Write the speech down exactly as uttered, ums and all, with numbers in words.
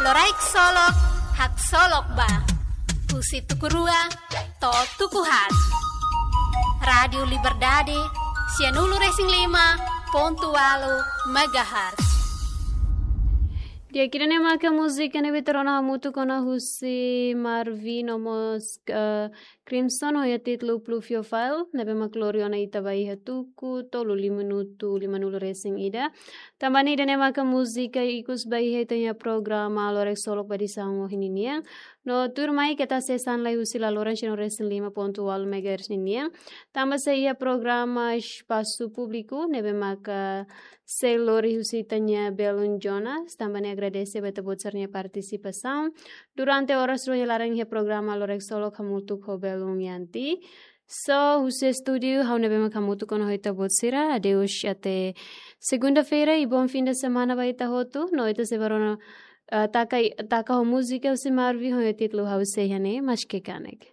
Loraik Solok, haksolok ba. Husi tuku rua to'o tuku haat. Rádiu Liberdade, sianulu-resin-lima pontu ualu megahertz. Di'ak, ida-ne'e maka múzika ne'ebé ita rona hamutuk ona husi Marvin no mós, eh, Crimson ho iha títulu Pluviophile, ne'ebé mak lori ona ita ba iha tuku tolu, lima minutu limanulu-resin-ida. Tanba ne'e ida-ne'e maka múzika ikus ba iha ita-nia programa Loraik Solok ba edisaun ohin ninian. No tuirmai keta hasees an lai husi la loran sianulu-resin-lima pontu ualu megahertz ninian. Tanba sei iha programa Espasu Públiku, ne'ebé maka sei lori husi ita-nia belun Jonas. Tanba ne'e agradese ba ita-boot sira-nia partisipasaun durante oras rua nia laran iha programa Loraik Solok hamutuk ho belun Yanti. So, husi estúdiu, ha'u ne'ebé mak hamutuk ona ho ita-boot sira. Adeus, até segunda-feira e bom fim de semana ba ita hotu. No ita sei bá rona, eh, taka, taka ho múzika husi Marvin ho títulu Ha'u Sei Iha Ne'e, Maske Kanek.